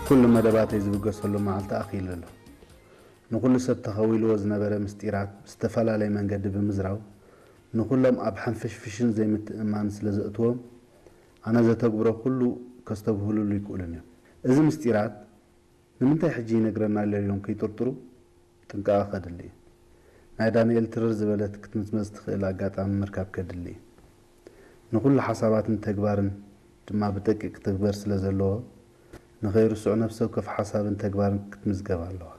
ኩሉ መደባተይ ዝብገሰሉ መዓልቲ ኣኺሉ ኣሎ። ንኹሉ ሰብ ተኸዊልዎ ዝነበረ ምስጢራት ብዝተፈላለየ መንገዲ ብምዝራው፣ ንኹሎም ኣብ ሓንፍሽፍሽን ዘይምትእምማን ስለ ዘእትዎም፣ ኣነ ዘተግብሮ ኩሉ ከስተብህሉሉ ይክእሉን እዮም። እዚ ምስጢራት ንምንታይ ሕጂ ይነግረና ኣሎ ኢሎም ከይጥርጥሩ ጥንቃቐ ከድሊ እዩ። ናይ ዳንኤል ትርር ዝበለት ክትምዝመዝ ትኽእል ኣጋጣሚ ምርካብ ከድሊ እዩ። ንኹሉ ሓሳባትን ተግባርን ድማ ብደቂቕ ክትግበር ስለ ዘለዎ፣ ንኸይርስዑ ነፍሲ ወከፍ ሓሳብን ተግባርን ክትምዝገብ ኣለዋ።